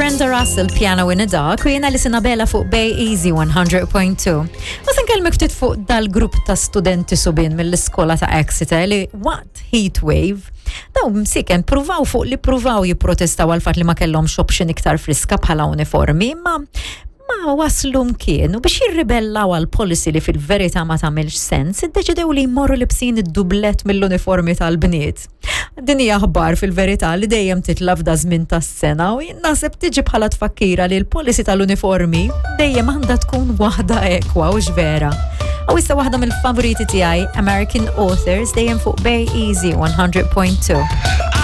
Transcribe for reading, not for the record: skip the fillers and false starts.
Brenda Russell, Piano in the Dark, u jena li sinabela fuq Bay Easy 100.2. U se nkellmek ftit fuq dal-grupp ta' studenti subien mill-iskola ta' Exeter li waqt heat wave, daw msiken pruvaw fuq li pruvaw jipprotestaw għal fatt li ma kellhomx option iktar friska bħala uniformi, ma ma waslu mkien u biex jirribellaw għal policy li fil-verità ma tagħmilx sens, iddeċidew li jmorru libsin id-dublet mill-uniformi tal-bniet. Din hija aħbar fil-verità li dejjem titla' f'da żmien tas-sena u jien naħseb tiġi bħala tfakkira li l-policy tal-uniformi dejjem għandha tkun waħda ekwa u vera. U issa waħda mill-favoriti tiegħi, American Authors, dejjem fuq Bay Easy 100.2.